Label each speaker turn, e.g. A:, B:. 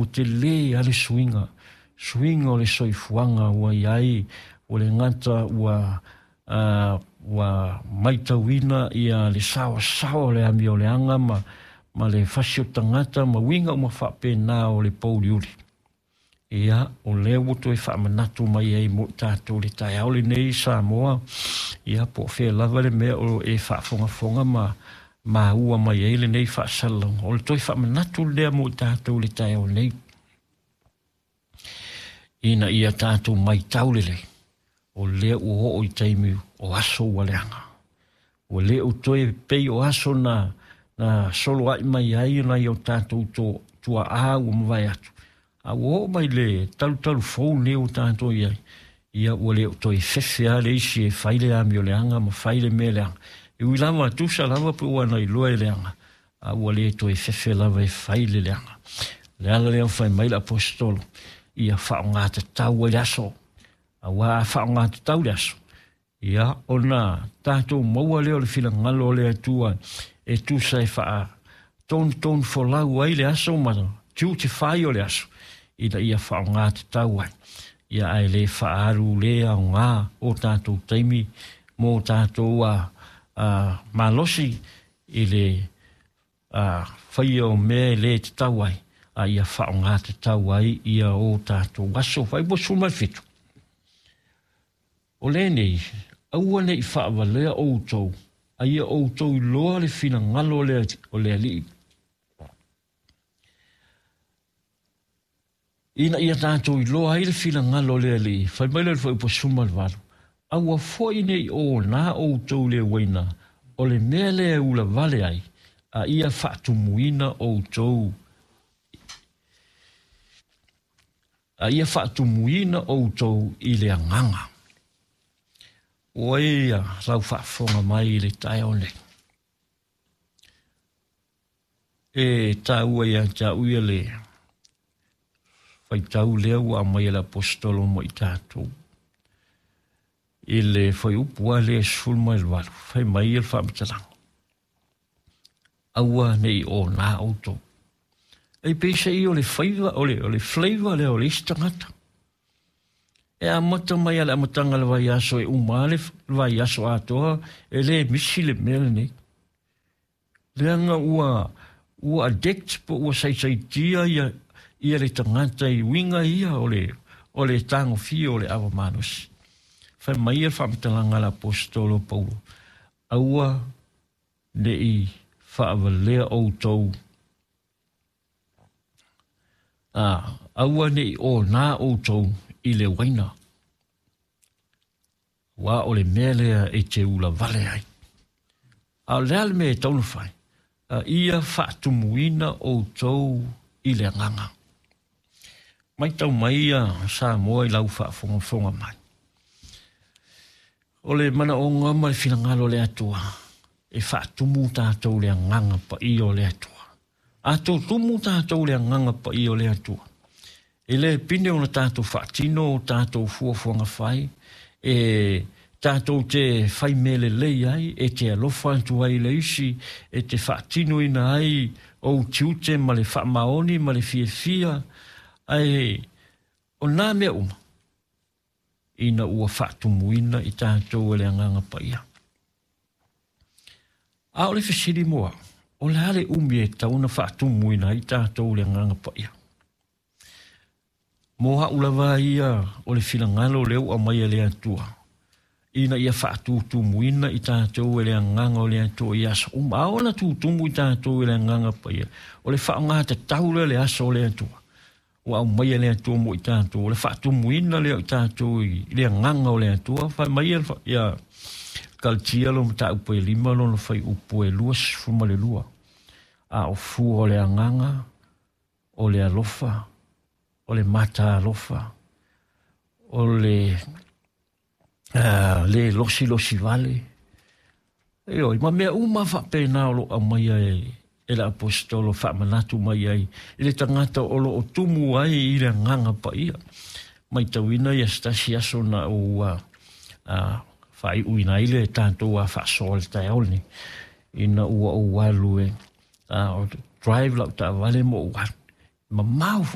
A: Ua telē lava le suiga, suiga o le soifuaga ua i ai, ua le gata ua ua matauina ia le saoasaoa o le amioleaga ma le fasi o tagata ma uiga uma faapena o le pouliuli. Ia, o lea ua toe faamanatu mai ai mo i tatou le taeao lenei Samoa, ia po o fea lava le mea o e faafogafoga ma maua mai ai lenei faasalalauga. O le toe faamanatu lea mo i tatou le taeao nei, ina ia tatou matau lelei, o lea ua oo i taimi o aso ua leaga. Ua le o toe pei o aso na soloai mai ai nai o tatou tuaa ua mavae atu. A ua oo mai le talutalu fou lenei ua tatou i ai, ia ua le o toe fefe lava le isi e fai le amioleaga ma fai le mea leaga. E ui lava, tusa lava pe ua na iloa e leaga, a ua le toe fefe lava e fai le leaga. O le ala lea fai mai le aposetolo, ia faaaogatatau ai le aso. Aua a faaaogatatau le aso, ia ona tatou maua lea o le finagalo o le Atua e tusa e faatonutonu folau ai le aso ma tiute fai o le aso, ina ia faaaogatatau ai. Ia ae le faaalu le aoga o tatou taimi mo tatou malosi i le faia o mea e le tatau ai, a ia faaaogatatau ai ia o tatou aso. Fuaiupu 17. O lenei, aua ne i faavalea outou, a ia outou iloa le finagalo o le Alii, ina ia tatou iloa ai le finagalo o le Alii. Fai mai le fuaiupu 18, aua foi ne i ona outou le uaina, o le mea lea e ulavale ai, a ia faatumuina outou, a ia faatumuina outou i le agaga. Ua ia lau faafofoga mai i le taeao nei. E taua ia te au ia le faitau lea ua aumai e le aposetolo mo i tatou. I le fuaiupu lava lea 18, fai mai le faamatalaga, aua ne i ona outou. E peiseai o le faiva, o le flavor lea o le isi tagata. E amata mai a le amataga o le vaiaso e uma le vaiaso atoa, e le misi le mea lenei. Leaga ua addict po ua saisaitia ia le tagata i uiga ia o le tagofia o le ava malosi. Fai mai le faamatalaga a le aposetolo Paulo, aua ne i faavalea outou, aua ne i ona outou i le uaina, ua o le mea lea e te ulavale ai. A o le a le mea e tatau ona fai, a ia faatumuina outou i le agaga. Matau mai ia Samoa i lau faafogafoga mai. O le manaoga ma le finagalo o le Atua, e faatumu tatou le agaga paia o le Atua. A tutumu tatou le agaga paia o le Atua, e le pine ona tatou faatino o tatou fuafuaga fai, e tatou te fai mea lelei ai, e te alofa atu ai le isi, e te faatinoina ai ou tiute ma le faamaoni ma le fiafia, ae o nā mea uma, ina ua faatumuina i tatou e le agaga paia. A o le fesili mo au, o le a le umi e tatau ona faatumuina ai tatou le agaga paia? Mo au lava ia o le finagalo lea ua aumai e le Atua, ina ia faatutumuina i tatou e le agaga o le Atua i aso uma. A ona tutumu i tatou e le agaga paia, o le faaaogatatau lea le aso o le Atua ua aumai e le Atua mo i tatou, o le faatumuina lea o i tatou i le agaga o le Atua. Fai mai ia Kalatia lo mataupu e 5 lona fuaiupu e 22, a o fua o le agaga, o le alofa, o le mata alofa, o le le losilosi vale, ioe, ma mea uma faapena o lo o aumaia e le aposetolo faamanatu mai ai i le tagata o lo o tumu ai i le agaga paia. Matauina ia se tasi aso na ua faaiuina ai le tatou faasoa le taeao lenei, ina ua ou alu e drive lau taavale ma ou alu. Mamao foi